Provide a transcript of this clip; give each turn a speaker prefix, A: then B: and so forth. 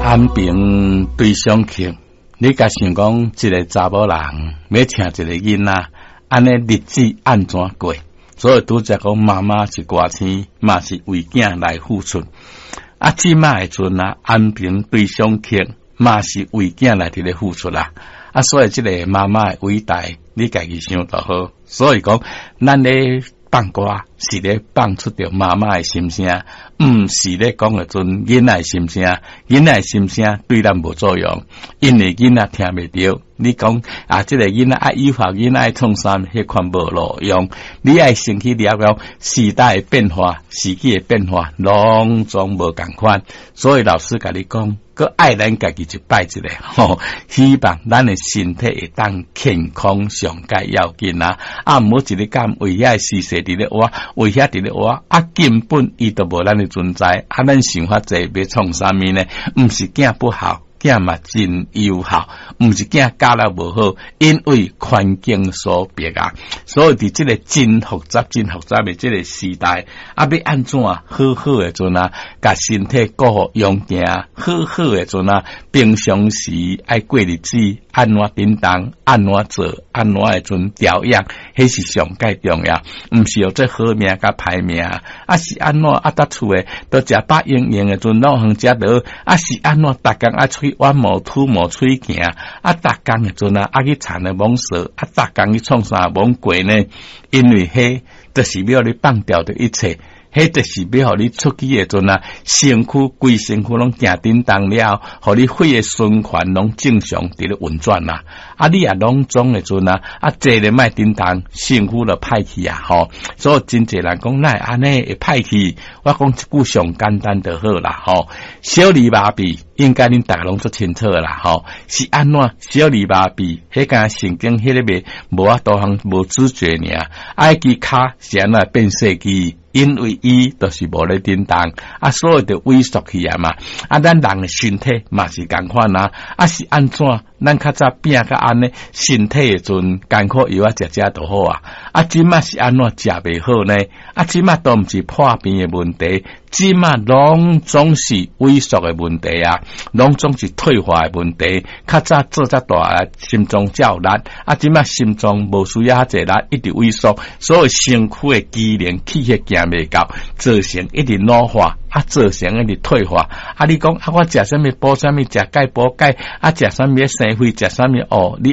A: 安平對上曲，你共想講一個查某人欲疼一個囡仔，按呢日子按怎過？所以拄才講媽媽是歌星，嘛是為囝來付出。啊，這馬的陣啊，安平對上曲嘛是為囝來佇咧付出啦。啊，所以這個媽媽的偉大，你家己想就好。所以講，咱咧放歌是咧放出著媽媽的心聲，毋是咧講的陣囡仔的心聲。囡仔的心聲對咱無作用，因為囡仔聽袂著。你講啊，這個囡仔愛誘發囡仔愛創啥，彼款無路用。你愛先去了解時代的變化、時機的變化，攏總無仝款。所以老師共你講，閣愛咱家己一擺一下，吼，希望咱的身體會當健康上蓋要緊啊！啊，毋好一日干為遐時勢佇咧活，為遐佇咧活，啊，根本伊都無咱的存在，啊，咱想法濟欲創啥物呢？毋是囝不好。囝嘛真有效，毋是囝教了無好，因為環境所逼啊。所以佇這個真複雜、真複雜的這個時代，啊，欲按怎好好的陣啊，共身體顧好養健，好好的陣啊，平常時愛過日子，按怎叮當，按怎做，按怎的陣調養，彼是上蓋重要，毋是予這好命佮歹命，啊是按怎啊？佇厝的都食飽閒閒的陣，老遠食落，啊是按怎？逐工愛出去挖毛吐毛出去行，啊，逐工的陣啊，啊去田的罔踅，啊，逐工去創啥罔過呢？因為彼就是欲予你放掉的一切。彼就是欲予你出去的陣啊，身軀規身軀攏行叮當了，予你血的循環攏正常佇咧運轉啦。啊，你也攏總的陣啊，啊，坐咧莫叮當，身軀就歹去啊，吼。所以真濟人講，哪會按呢會歹去？我講一句上簡單就好啦，吼。小兒麻痹應該恁逐家攏足清楚啦，吼。是按怎？小兒麻痹，彼個神經彼個袂無法度通無知覺爾，啊，彼支跤是按怎變細支？因為伊就是無咧振動，啊，所以就萎縮去啊嘛。啊，咱人的身體嘛是仝款啊，啊是按怎？咱較早拼甲按呢，身體的陣艱苦藥仔食食就好啊。啊，這馬是按怎食袂好呢？啊，這馬都毋是破病的問題，這馬攏總是萎縮的問題啊，攏總是退化的問題。較早做遮大，心臟才有力，啊，這馬心臟無需要遐濟力，一直萎縮，所以身軀的機能氣血行袂夠，造成一直老化。啊，造成一直退化。啊，你講啊，我食啥物補啥物，食鈣補鈣，啊，食啥物生血，食啥物哦，你。